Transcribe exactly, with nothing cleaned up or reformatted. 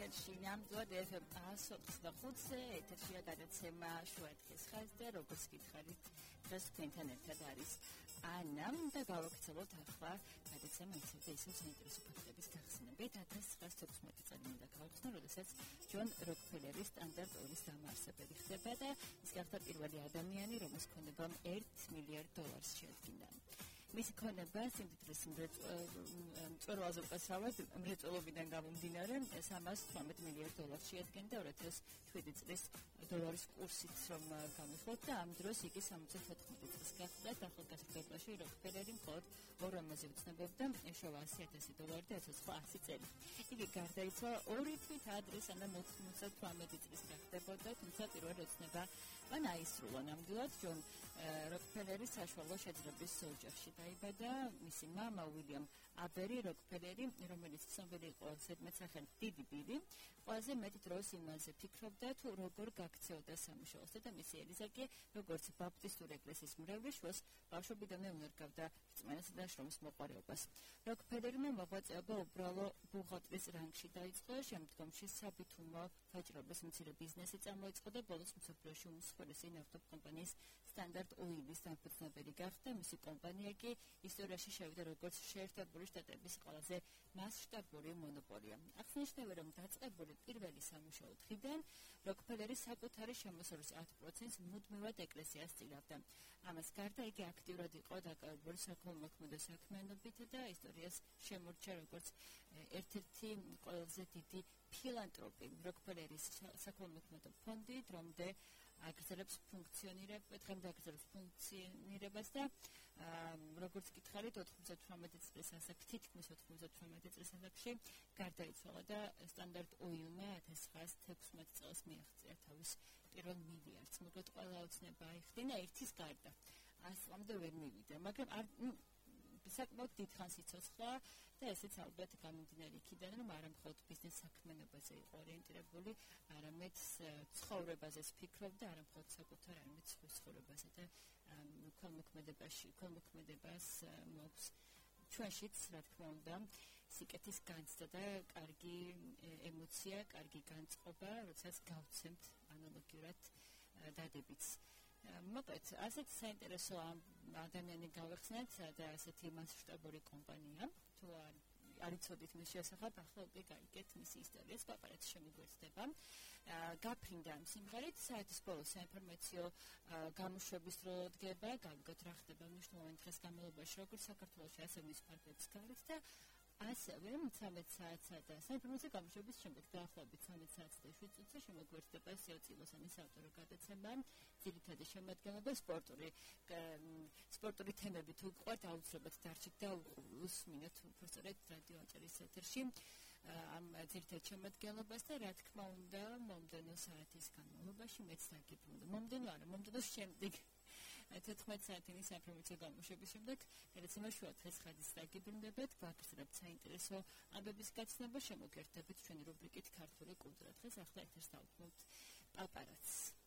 ეთერში ნამდვილად ეფ ემ ათს ოცდაოთხ ეთერში გადაცემა შუადღის ხაზზე, როგორც გითხარით, დღეს თქვენთან ერთად არის ანა და გავაკეთებთ ახლა გადაცემა ისევ ისევ საინტერესო ფაქტების გახსნებით. ათას ცხრაას თექვსმეტი წელი მინდა გავხსნო, როდესაც ჯონ როკფელერის სტანდარტ ოილის დამაარსებელი ხდება და ის გახდა პირველი ადამიანი, რომელს ქონება ერთ მილიარდ დოლარს შეადგინა. მისი ქონება სიმდიდრის მწვერვალზე უკაცრავად მრეწველობიდან გამომდინარე სამას თვრამეტ მილიარდ დოლარს შეადგენდა ორ ათას შვიდი წლის დოლარის კურსით რომ გამიხოთ და ამ დროს იგი სამოცდათოთხმეტი წლის გახდა და ახალგაზრდობაში როკფელერი მხოლოდ ორ ამაზე ვცნობობდა ეშოვა ასი ათასი დოლარი და ეცოცხლა ასი წელი. იგი გარდაიცვალა ორი თვით ადრე სანამ ოცდათვრამეტი წლის გახდებოდა, თუმცა პირველი ოცნება მან აისრულა ნამდვილად. ჯონ როკფელერი საშუალო შეძლებრის ოჯახში დაიბადა. მისი მამა უილიამ აბერი როკფელერი, რომელიც ცნობილი იყო ზედმეტსახელით დიდი ბილი, ყველაზე მეტ დროს იმაზე ფიქრობდა თუ როგორ გაქცეოდა სამუშაოსა და მისი ელიზა კი როგორც ბაპტისტური ეკლესიის მრევლი შუას ბავშვობიდანვე უნერგავდა რწმენასა და შრომის მოყვარეობას. როკფელერმა მოღვაწეობა უბრალო ბუღალტრის რანგში დაიწყო, შემდგომში საბითუმო ვაჭრობის მცირე ბიზნესი წარმოიწყო და ბოლოს მსოფლიოში უმსხვილესი ნავთობკომპანიის სტანდარტ ოილის დამფუძნებელი გახდა. მისი კომპანია კი ისტორიაში შევიდა როგორც შეერთებული შტატების ყველაზე მასშტაბური მონოპოლია. აღსანიშნავია, რომ დაწყებული პირველი სამუშაო დღიდან როკფელერი საკუთარი შემოსავლის ათ პროცენტს მუდმივად ეკლესიას წილავდა. ამას გარდა იგი აქტიურად იყო დაკავებული საქველმოქმედო საქმიანობით და ისტორიას შემორჩა როგორც ერთ-ერთი ყველაზე დიდი ფილანტროპი. როკფელერის საქველმოქმედო ფონდი დრომდე აგრძელებს ფუნქციონირებას, დღემდე აგრძელებს ფუნქციონირებას და როგორც გითხარით, ოთხმოცდათვრამეტი წლის ასაკში, თითქმის ოთხმოცდათვრამეტი წლის ასაკში გარდაიცვალა და სტანდარტ ოილმა ათას ცხრაას თექვსმეტ წელს მიაღწია თავის პირველ მილიარდს. მოკლედ ყველა ოცნება აიხდინა ერთის გარდა. ას წლამდე ვერ მივიდა, მაგრამ არ საკმაოდ დიდხანს იცოცხლა და ესეც ალბათ გამომდინარე იქიდან, რომ არა მხოლოდ ბიზნეს საქმიანობაზე იყო ორიენტირებული, არამედ ცხოვრებაზეც ფიქრობდა, არა მხოლოდ საკუთარ, არამედ სხვის ცხოვრებაზე და ქველმოქმედებაში, ქველმოქმედებას მოაქვს ჩვენშიც, რა თქმა უნდა, სიკეთის განცდა და კარგი ემოცია, კარგი განწყობა, როდესაც გავცემთ ანალოგიურად დადებითს. მოკლედ, ასეთი საინტერესო ადამიანი გავეხსნათ და ასეთი მასშტაბური კომპანია, თუ არ იცოდით მის შესახებ, ახლა უკვე გაიგეთ მისი ისტორიას, პაპარაცი შემიგვეცდება. გაფრინდა ამ სიმღერით, საათის ბოლოს საინფორმაციო გამოშვების დრო დგება, გავიგოთ რა ხდება მნიშვნელოვანი დღეს განმავლობაში, როგორც საქართველოში, ასევე მის ფარგლებს გარეთ და ასევე მცამეტ საათსა და საინფორმაციო გამოშვების შემდეგ დაახლოებით ცამეტ საათსა და შვიდ წუთზე შემოგვერთდება სიო წილოსანის ავტორო გადაცემა, ძირითადი შემადგენლობა სპორტული სპორტული თემები თუ გყვართ, აუცილებლად დარჩით და უსმინოთ უბრალოდ რადიო აჭარის ეთერში ამ ძირითად შემადგენლობას და რა თქმა უნდა, მომდენო საათის განმავლობაში მეც დაგიბრუნდა. მომდენო არა, მომდენო შემდეგ თერთმეტ საათიანი საინფორმაციო გამოშვების შემდეგ გადაცემა შუადღის ხაზის დაგიბრუნდებათ, გვაგრძელებთ საინტერესო ამბების გაცნობა, შემოგერთებით ჩვენი რუბრიკით ქართული კულტურა. დღეს ახლა ეთერს დავთმობთ პაპარაცს.